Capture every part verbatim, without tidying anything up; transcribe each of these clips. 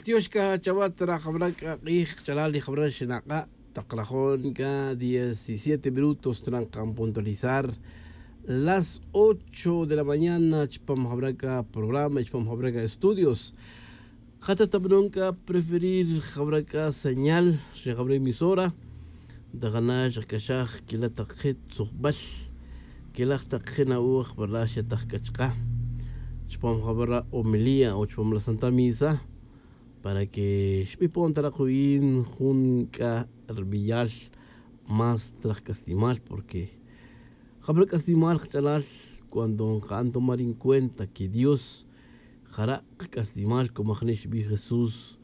Tiox c'a chawa' tra jawra c'a k'ij kach'alal y jawra xinak'a'. Tak rajon c'a diecisiete minutos tran kan puntualizar las ocho de la mañana chupam jawra c'a programa y chupam jawra c'a estudios. Jata tabanon c'a preferir jawra c'a señal ri jawra emisora. Tajana xak'axaj quila' tak je' tzujbal quila' tak je' na'oj verdad xetaj c'a chaka' chupam jawra homilía o chupam la santa misa, para que xbipon ta rak win jun c'a rbiyal más traj c'aslimal, porque jabra c'aslimal kach'alal cuando nka'an tomar en cuenta que dios jara' kac'aslimal como ajni' xbij jesús.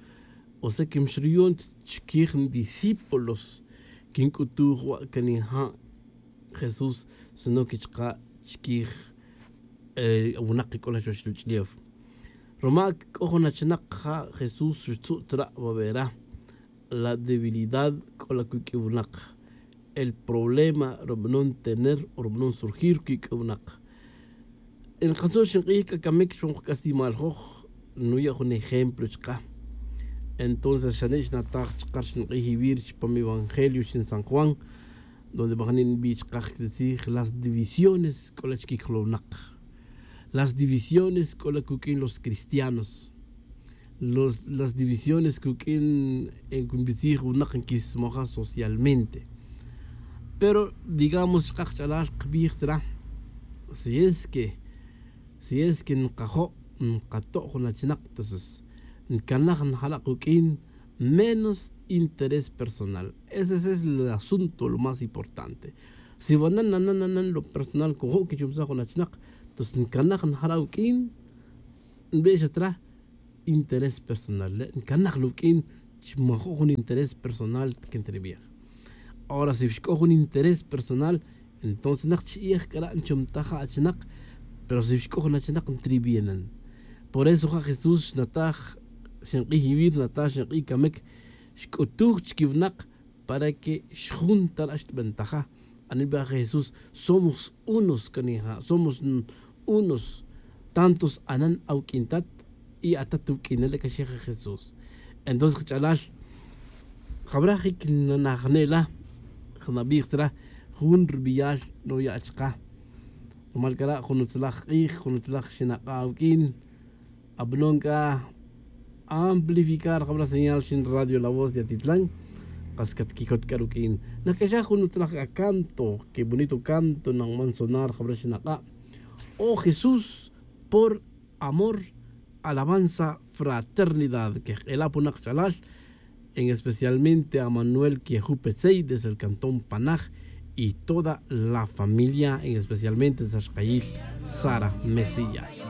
O sea que mxruyon ta chiquij ndiscípulos quinc'utuj wa' can nija' jesús, sino que chaka' chiquij winak c'o la chuwech ruch'ulef. Roma c'o jun achinak ja' jesús xtzu' tra' wawera. La debilidad c'o la cuq'ui winak, el problema rubanon tener o rubanon surgir cuq'ui winak. Nkatzu' xink'ij c'a camic chupam kac'aslimal joj. Nuya' jun ejemplo chaka'. Entonces xane' xnataj chaka' ri xink'ij iwir chupam evangelio xin san juan, donde majni' nbi' chaka' tzij las divisiones c'o la chiquic jolownak. Las divisiones c'o la cuq'uin los cristianos. Los las divisiones cuq'uin nbitzij winak nquismaja socialmente. Pero digamos chaka' kach'alal kbij tzara, si es que si es que nkajo' nkato' jun achinak, entonces ncanaj njara' kuq'uin menos interés personal. Ese es el asunto lo más importante. Si wanan nanan nanan lo personal cojo' quichumsaj jun achinak, entonces ncanaj njara' uq'uin nbe' xa tra interés personal le' ncanaj lo uq'uin. Chi majo' jun interés personal que ntribij. Ahora si xc'o jun interés personal, entonces nak chi'ij c'ara' nchumtaj ja achinak. Pero si xc'o jun achinak ntribij nan. Por eso ja jesús xnataj xink'ij iwir nataj xink'ij camic xc'utuj chiquiwnak para que xjun tara' xtbentaja. Anibaj jesús somos unos canija' somos unos. Tantos anan awuq'uin tat y atat wuq'uinel le' caxija jesús. Entonces kach'alal jawra jic nanajne' la jnabij tzara jun rbiyal noya' chaka'. Rumal c'ara' jun utzalaj k'ij jun utzalaj xinak'a' awuq'uin. Abanon c'a amplificar jawra señal xin radio la voz de atitlan. Kas catquicot c'a ruq'uin nac'axaj jun utzalaj c'a canto que bonito canto nanman sonar jawra xinak'a'. Oh jesús, por amor, alabanza, fraternidad quejk'ela' punak ch'alal, en especialmente a manuel queju petzey desde el cantón panaj y toda la familia en especialmente sa xkayil sara mesías.